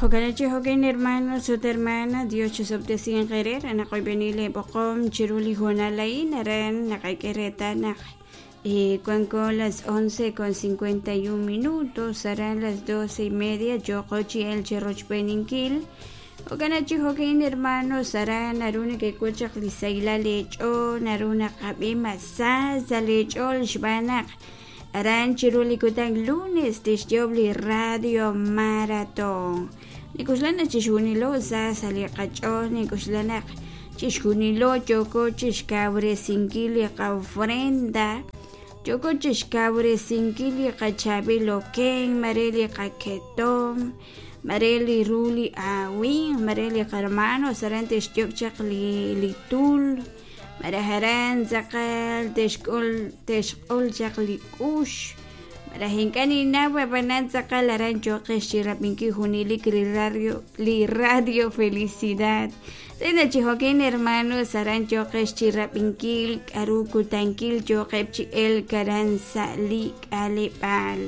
Jo'kan chi jo'kan hermanos ut hermana, Dios chisob'tesinq eere re naq oyb'eni lee b'oqom chiru li hoonal a'in aran naqak'e reetal naq wanko las 11 con 51 minutos aran las 12 y media yooqo chi elk chi rochb'eeninkil. Jo'kan chi jo'kan hermanos aran naru nekek'ul chaq li sahilal eech'ool naru naqab'i mas sa sa' leech'ool xb'aan naq aran chiru li kutan lunes tixyoob' li radio maratón. Nink'oxla naq chixjunilo sa sa' li qach'ool, nink'oxla naq chixjunilo yooko chixkawresinkil li qa'ofrenda, yooko chixkawresinkil li qachaab'il okenk, mare li qaketom, mare li ru li aawimq, mare li qahermanos aran te'xyok' chaq li tul, malaj aran tz'aqal te'xk'ul te'xq'ol chaq li k'ux, malaj ink'a' ninnaw ab'anan tz'aqal aran yooqex chi rab'inkil junelik li radio li radio Felicidad. Re naq chi jo'kan hermanos aran yooqex chi rab'inkil k'aru kutankil yooqeb' chi elk aran sa' li k'aleb'aal.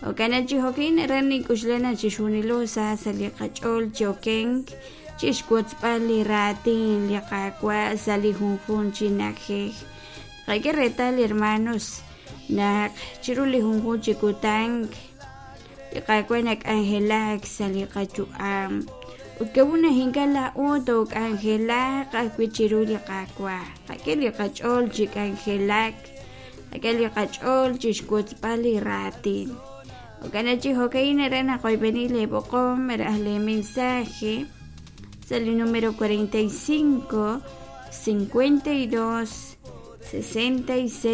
Jo'kan naq chi jo'kan aran nink'oxla naq chixjunilo sa sa' li qach'ool chi okenk chixwotzb'al li raatin li Qaawa' sa' li junjunq chi na'ajej. Qak'e reetal hermanos naq chiru li junjunq chi kutan li Qaawa' nak'anjelak sa' li qayu'am ut k'a'ut naq ink'a' laa'o took'anjelaq ajwi' chiru li Qaawa'. Qak'e li qach'ool chi k'anjelak, qak'e li qach'ool chixwotzb'al li raatin. Jo'kan naq chi jo'ka'in aran naqoyb'eni lee b'oqom malaj lee mensaje sa' li numero 45 52 66.